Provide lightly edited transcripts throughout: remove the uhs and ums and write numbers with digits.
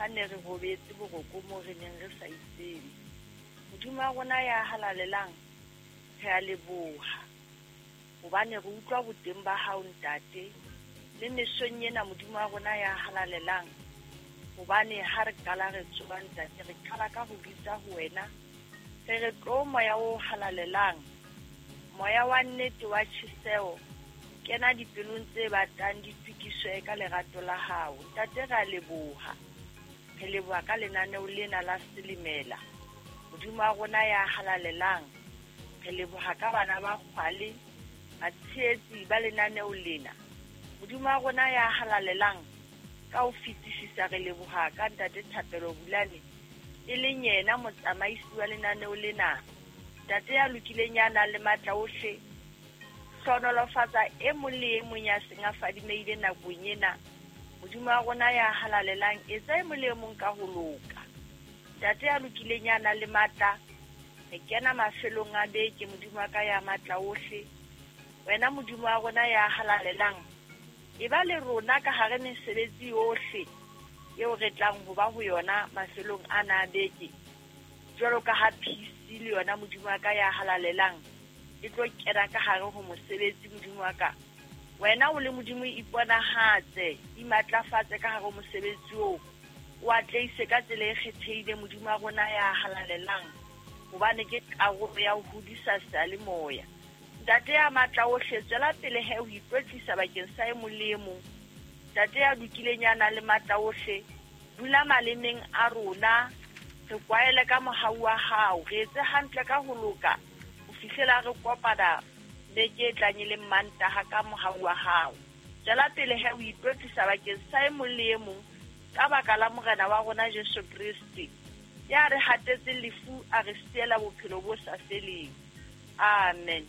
Ha ne re robetse boroko moo re neng re sa itsebe. Modimo wa rona ya halalelang, re a leboha. Hobane re utlwa boteng ba hao Ntate, le mesong ena Modimo wa rona ya halalelang. Hobane ha re qala re tsoha Ntate, re qala ka ho bitsa ho wena. Re re tlo moya o halalelang, moya wa nnete wa tjheseho, kena dipelong tse batang di tukiswe ka lerato la hao. Ntate re a leboha. Re leboha ka lenaneo lena la Selemela. Modimo wa rona ya halalelang, re leboha ka bana ba kgwale, batshehetsi ba lenaneo lena. Modimo wa rona ya halalelang, ka ho fetisisa re leboha ka Ntate Thapelo Bulane, e leng yena motsamaisi wa lenaneo lena. Ntate ya lokileng ya nang le matla ohle, hlohonolofatsa e mong le e mong ya seng a fadimehile nakong ena. Modimo wa rona ya halalelang, etsa e mong le e mong ka ho loka. Ntate ya lokileng ya nang le matla, re kena mafelong a beke, Modimo wa ka ya matla ohle. Wena Modimo wa rona ya halalelang, e ba le rona ka hare mesebetsi yohle eo re tlang ho ba ho yona mafelong ana a beke. Jwalo ka ha PC le yona Modimo wa ka ya halalelang e tlo kena ka hare ho mosebetsi Modimo wa ka. Wena o le Modimo iponahatse, imatlafatse ka hare ho mosebetsi oo. O atleise ka tsela e kgethehileng Modimo wa rona ya halalelang, hobane ke karolo ya ho hodisa seyalemoya. Ntate ya matla ohle, tswela pele he ho itlotlisa bakeng sa e mong le e mong. Ntate ya lokileng ya nang le matla ohle, dula malemeng a rona, re kwaele ka mohau wa hao, re etse hantle ka ho loka, ho fihlela re kopana beke e tlang e leng Mantaha ka mohau wa hao. Tswela pele he ho itlotlisa bakeng sa e mong le e mong ka baka la Morena wa rona Jesu Kreste, ya re hatetseng lefu a re siela bophelo bo sa feleng. Amen.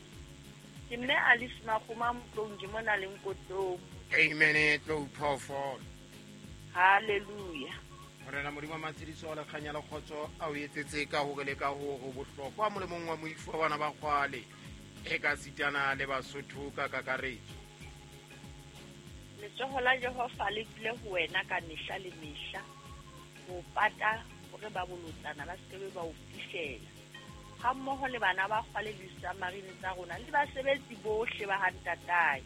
Ke mme Alice Makgoma Motlong, ke mona le Nkotong. Amen, tlou phoofolo. Hallelujah. Morena Modimo wa matshediso le kganya le kgotso a o etsetse ka hore le ka hore bohlokwa molemong wa moifo wa bana ba kgwale e ka sitana le Basotho ka kakaretso. Letsoho la Jehova le dule ho wena ka mehla le mehla, ho pata hore ba bolotsana ba se ke ba o fihlela, hammoho le bana ba kgwale le disamarine tsa rona le basebetsi bohle ba ha ntatae.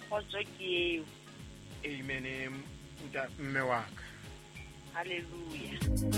Kgotso ke eo. Amen, mme wa ka. Hallelujah.